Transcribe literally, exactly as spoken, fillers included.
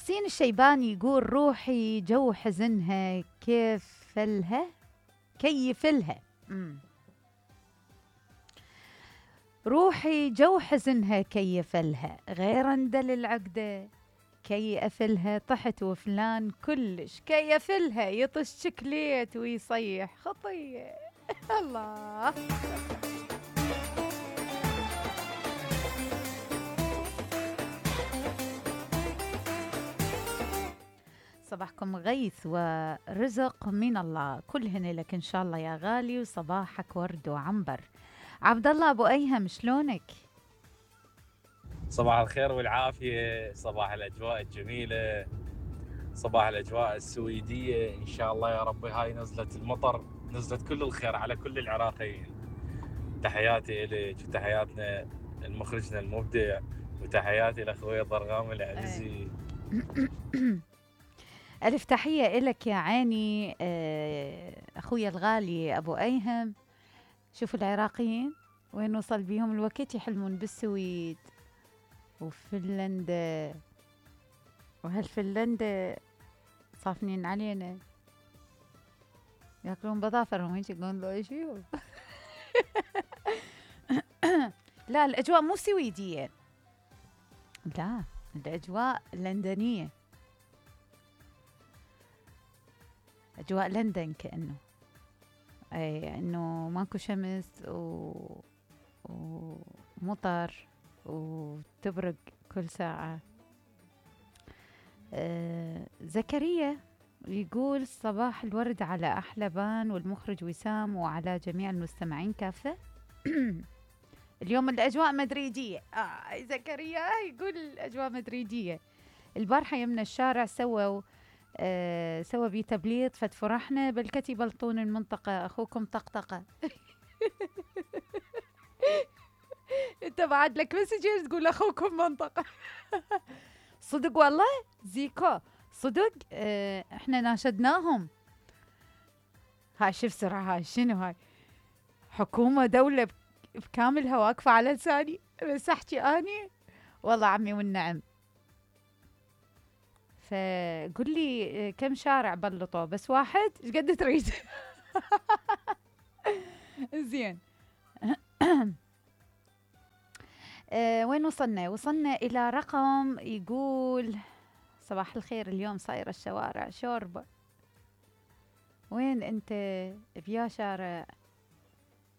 حسين الشيباني يقول روحي جو حزنها كيف لها كيف لها مم. روحي جو حزنها كيف لها غير اندل العقدة كي أفلها طحت وفلان كلش كي أفلها يطش شكليت ويصيح خطية الله. صباحكم غيث ورزق من الله كلهن لك إن شاء الله يا غالي وصباحك ورد وعنبر. عبد الله أبو أيهم شلونك؟ صباح الخير والعافية، صباح الأجواء الجميلة، صباح الأجواء السويدية إن شاء الله يا ربي. هاي نزلت المطر نزلت كل الخير على كل العراقيين. تحياتي إليك وتحياتنا المخرجنا المبدع وتحياتي لأخوي ضرغام العزيزي. ألف تحية إلك يا عيني أخوي الغالي أبو أيهم. شوفوا العراقيين وين وصل بيهم الوقت يحلمون بالسويد وفنلندا، وهالفنلندا صافنين علينا ياكلون بظافرهم هيك يقولون له ايش فيهم. لا الأجواء مو سويدية، لا الأجواء لندنية، أجواء لندن كأنه أي إنه ماكو شمس و... ومطر وتبرق كل ساعة. آه زكريا يقول صباح الورد على أحلى بان والمخرج وسام وعلى جميع المستمعين كافة. اليوم الأجواء مدريدية. آه زكريا يقول الأجواء مدريدية. البارحة يمنا الشارع سووا آه سوى بي تبليط فتفرحنا بالكتي بلطون المنطقة أخوكم طقطقة. انت بعد لك مسجز تقول أخوكم منطقة. صدق والله زيكو صدق. اه احنا ناشدناهم. هاي شوف سرعة هاي شنو هاي حكومة دولة بكاملها واقفة على لساني بس احكي اني والله عمي والنعم. فقل لي كم شارع بلطوا بس واحد ايش قد تريد. زين. أه وين وصلنا؟ وصلنا إلى رقم يقول صباح الخير اليوم صايرة الشوارع شوربة. وين أنت بيا شارع